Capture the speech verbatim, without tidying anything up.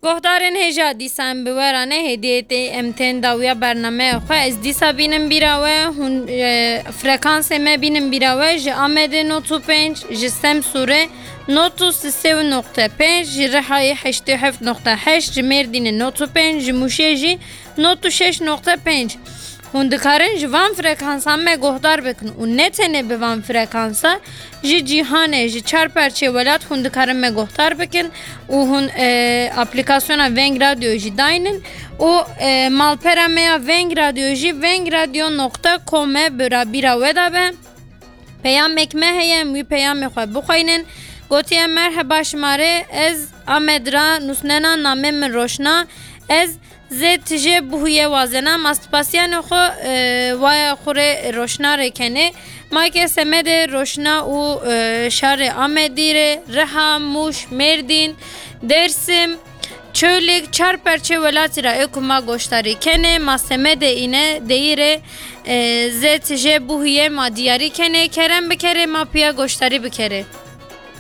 Guhdarên hêja, dîsa em bi we re ne, hêdiyê tê em tên dawiya bernameya xwe. Ez dîsa bînim bîra we, hûn, e, frekansê me bînim bîra we, ji Amedê not û pênc, ji Semsûrê not û sê û noqte pênc, ji Rihayê heştê heft noqte heşt, ji Mêrdînê not û pênc, ji Mûşê jî not û şeş noqte pênc. Hûn dikarin ji van frekansan me guhdar bikin û ne tenê bi van frekansa, ji cîhanê, ji çar perçê welat hûn dikarin me guhdar bikin û hûn, e, aplîkasyona Veng Radyo jî daynin û, e, malpera me ya Veng Radyo jî veng radyo noqta com e, bira bîra we de be. Peyamek me heye, em wî peyamê xwe bixweynin. Gotiye, merheba, şima rê, ez Amed ra nûsnena, namê min Roşna. Ez zê tijê bihuyê wazena, ma spasiyanê xwe, e, waya xwe rê Roşna rê kenê. Ma ke semedê Roşna û, e, şarê Amedî rê, Riha, Mûş, Mêrdîn, Dêrsim, Çolîg, çar perçê welatî ra ê ku ma goşdarî kenê, ma semedê îne deyî rê, e, zê tijê bihuyê ma diyarî kenê, kerem bikerê ma piya goşdarî bikerê.